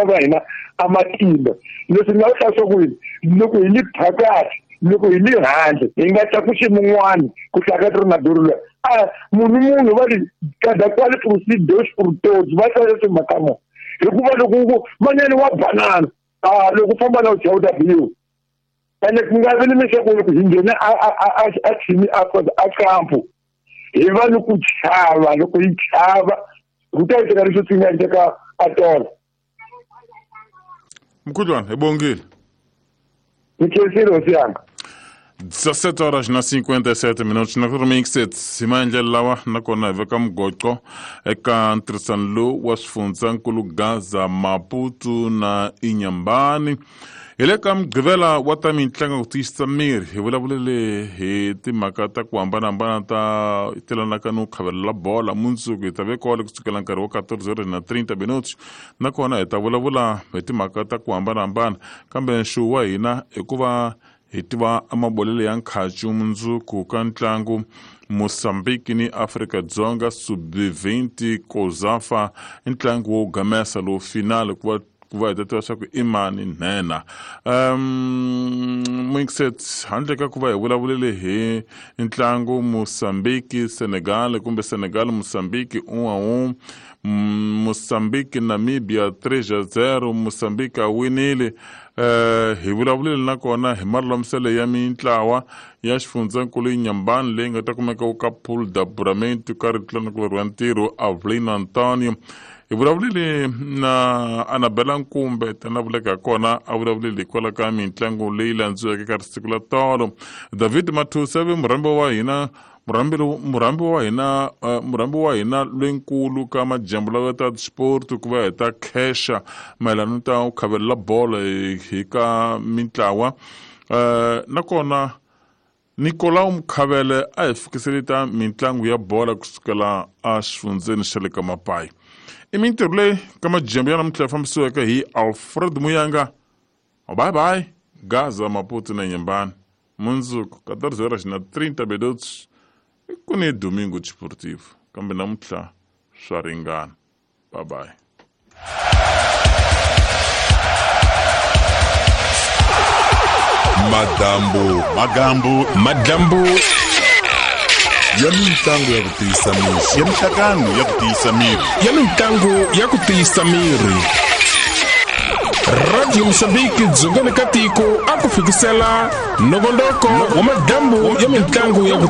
va hina a matimba. Leswi nga hlasa ku loko hi li phakathi, loko hi li handle, hi nga tlakusi mun'wani ku hlaka ri na doro loyi. A munhu va ri cada qual por si, Deus por todos, va hlaya timhaka mo. Hikuva loko ku manyani wa banana, a loko u famba na u chawuta biwa. Ene ku nga vi ni leswaku loko hi nghena a tshimi a kampu, hi va ni ku chava, loko hi chava ku ta endleka leswi swi nga endleka a tolo. Mkhudlwana, hi bongile. Ni khensile hosi yanga. 17 horas na 57 minutos na remixet hi maendlelo lawa nakona hi veka mugoqo eka ntirhisano lowu wa swifundzankulu Gaza, Maputo na Inhambane. Hi le ka mugqivela wa ta mitlangu ku tiyisisa miri, hi vulavulele hi timhaka ta ku hambanahambana ta telanaka no khavelela bola. Mundzuku hi ta ve kole kusukela nkarhi wa 14 horas na 30 minutos, nakona hi ta vulavula hi timhaka ta ku hambanahambana, kambe nxuwu wa hina i ku va hi tiva mabolelo ya nkhacu mundzuku ka ntlangu Mozambique ni Afrika-Dzonga sub-20 Kozafa, ntlangu wo gamesa lowu final ku va hi ta tiva swa ku i mani nhenha. Mixet handle ka ku va hi vulavulele hi ntlangu Mozambique Senegal kumbe Senegal Mozambique 1-1, Mozambique Namibia 3-0, Mozambique a winile. Hi vulavulele nakona hi malulamiselo ya mintlawa ya xifundzankulu Inhambane leyi nga ta kumeka ka Pool da Buramento ka ritlanakulu wa ntirho Avelino Antonio. Hi vulavulele na Anabela Nkumbe tana vuleka kona a vulavulele hikwalaho ka mitlangu leyi landziweke ka siku la tolo. David Mathusa ve murhambi wa hina murhambi wa hina loyinkulu ka majambu lawa ta sport ku va hi ta khesha mayelana ta ku khavelela bolo hi ka mintlawa. Nakona Nicolau Mkhavele a hi fikisele ta mitlangu ya bola kusukela a xifundzeni xa le ka Mapai. I mintirho leyi ka majambu ya namuntlha ya fambisiweke hi Alfred Muyanga. Bye bye, Gaza, Maputo na Inhambane. Mundzuku 14 horas na 30 minutos ku ni Domingo Desportivo, kambe namuntlha swa ringana. Bye bye. Madambu, magambu, madambu ya mitlangu ya ku tiyisa miri, ya mihlangano ya ku tiyisa miri, ya mitlangu ya ku tiyisa miri. Radio Mozambique dzongeni ka tiko a ku fikisela nongonoko wa madambu ya mitlangu ya ku